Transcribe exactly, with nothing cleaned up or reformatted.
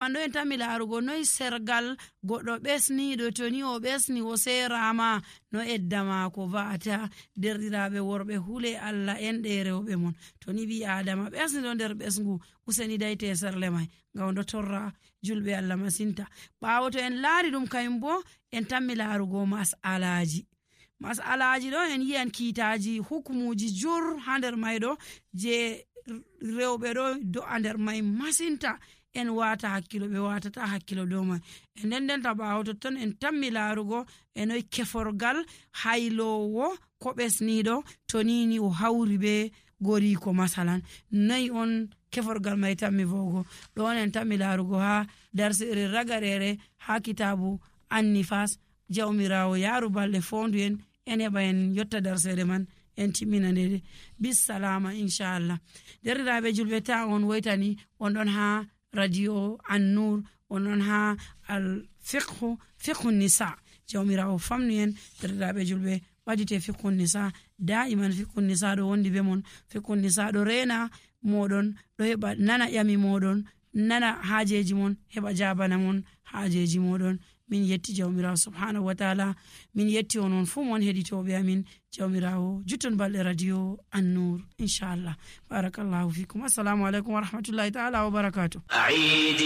mando en tammi laarugo noy sergal goɗɗo ɓesniɗo to ni o ɓesni o serama no edda maako va'ata. Derɗiraɓe worɓe hule Allah en ɗe rewɓe mon, to ni ɓi adama ɓesniɗo nder ɓesngu useni dayte serle mai ngam do torra julɓe Allah masinta. ɓawo to en laari ɗum kayum bo en tammi laarugo mas'alaji mas'alaji ɗo en yi'an kiitaji hukumuji jur ha nder mai ɗo je rewɓe ɗo do'a nder mai masinta en wata hakkilo ɓe watata hakkilo dow mai. e nden nden ta ɓawo totton en tammi laarugo e noy keforgal haylowo ko ɓesniɗo to nini o hawri be goriko masalan noy on keforgal mai tammi vogo. ɗon en tammi laarugo ha darsere ragarere ha kitabu annifas. jawmirawo yaru balɗe fondu en en heɓa en yotta darsere man en timmina nde bisalama inchallah. derɗiraɓe julɓe ta on woytani on ɗon ha radio An-Nur, on ɗon ha al fiqhu fiqhu nisa. jawmirawo famnu en derɗiraɓe julɓe ɓadite fiqhu nisa da'iman. fiqhu nisa ɗo wondi be mon, fiqhu nisa ɗo rena moɗon, ɗo heɓa nana ƴami moɗon, nana hajeji mon, heɓa jabana mon hajeji moɗon. min yetti jawmirawo subhanahu wa ta'ala, min yetti onon fu mon heɗitoɓe amin. jawmirawo jutton balɗe radio An-Nur inchallah. barakallahu fikum. assalamu alaikum wa rahmatullahi ta'ala wa barakatuh.